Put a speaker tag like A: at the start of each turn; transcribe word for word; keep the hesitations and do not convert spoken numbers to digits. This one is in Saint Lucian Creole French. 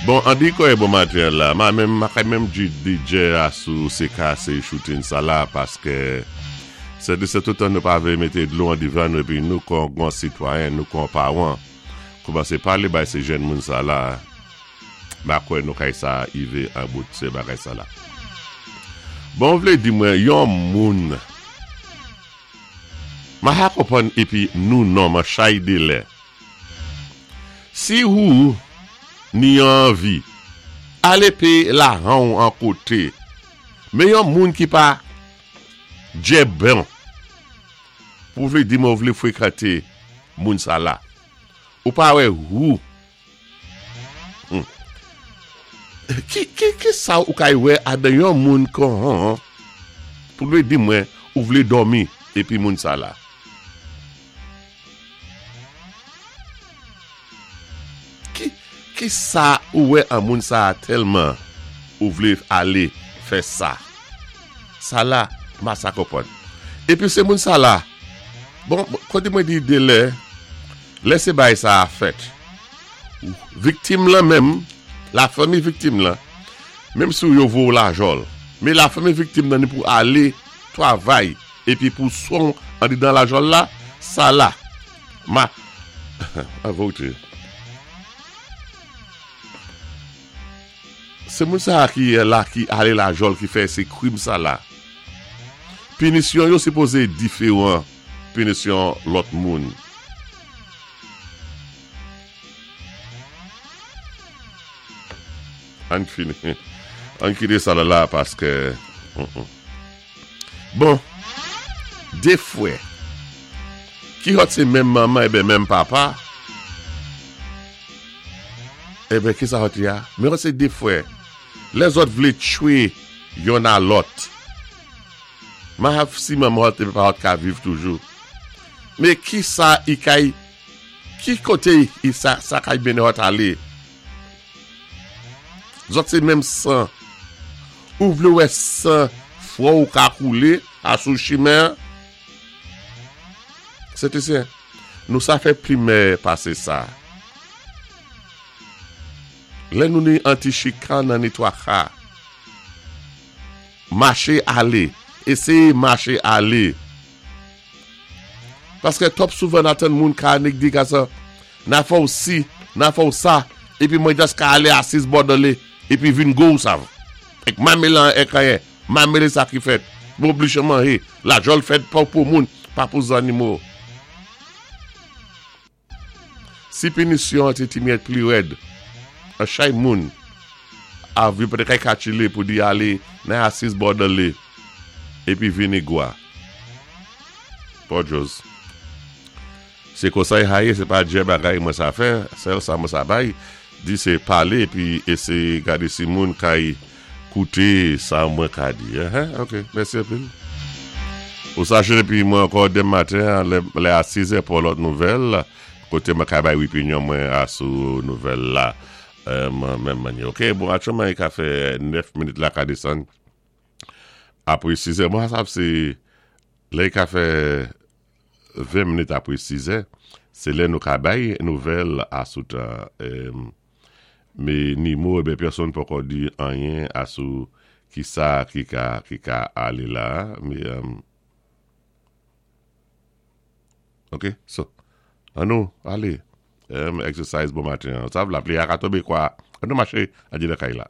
A: Bon, an di kò'y bon maten la, ma menm, ma kay menm di D J a sou se ka se shooting sa la, paske se de se toutan nou pa vle mete dlo an divan nou epi nou kon gwan sitwayen, nou kon pawan, koumanse pale bay se jèn moun sa la, ma kwe nou kay sa ive an bout se bagay sa la. Bon, vle di mwen, yon moun, ma ha konpwann epi nou non, ma chay de lè. Si ou ni anvi, ale pe la han an kote, men yon moun ki pa dje bon, pou vle di mwen vle frekante moun sa la, ou pa wè ou, hmm. ki, ki, ki sa ou kay wè adan yon moun kon han, pou vle di mwen ou vle dòmi epi moun sa la? Ki, ki sa ou wè an moun sa tèlman ou vle ale fè sa? Sa la, ma sa konpwann. Epi se moun sa la, bon, kote mwen di de lè, lè se bay sa a fèt, viktim la menm, la fanmi viktim la, menm sou yo vo la jol, men la fanmi viktim nan ni pou ale travay, epi pou son an di dan la jol la, sa la, ma, a vote. Se moun sa ki la ki ale la jol ki fè se krim sa la. Pinisyon yo sipoze diferan pinisyon lòt moun. An fini. An kite sa la la paske mm -mm. Bon, de fwa ki hot se menm maman e ben menm papa, e ben ki sa hot ya? Men hot se de fwa. Les autres vle tchwe yon a lòt. Ma hav si maman hot e papa hot ka viv toujou. Men ki sa i kay, ki kote i sa, sa kay bene hot ale? Zot se menm san. Ou vle wè san fwa ou ka koule a sou chimen? Sete se, nou sa fè primè pase sa. Lè nou ni anti-chikan nan ni twa ka. Mache ale. Eseye mache ale. Paske top souvan atan moun ka anik di ka sa, na fò ou si, na fò ou sa, epi mwen just ka ale asis bòdole, epi vin go ou sav. Ek ma mele an ek ayen, ma mele sa ki fèt. Mwen oblige manje, la jol fèt pa pou moun, pa pou zanimo. Si pinisyon te ti miet pli red, an chay moun, av yo pwede kay kachile pou di ale nan asis bòdole, epi vini gwa. Podjos. Se konsay haye, se pa dje bagay mwen sa fè, sel sa mwen sa bay, di se pale, epi ese gade si moun kay koute sa mwen ka di. Eh, ok, mèsi anpil. Ou sache epi mwen ankò dem maten, lè, lè a sis è pou lòt nouvèl, kote mwen ka bay opinyon mwen a sou nouvèl la. Euh, menm manye. Ok, bon, aktyèlman, i ka fè nèf minit la ka desann. Apre sis è, mwen sav se, lè i ka fè ven minit apre sis è, se lè nou ka bay nouvèl a sou tan. Euh, me ni mou, e ben, pèsonn pa di anyen a sou ki sa ki ka, ki ka ale la, mais, euh, ok, so, an nou, ale, um, exercise bon maten, sa vla pli a ka tobe kwa, an nou mache, a di la kay la.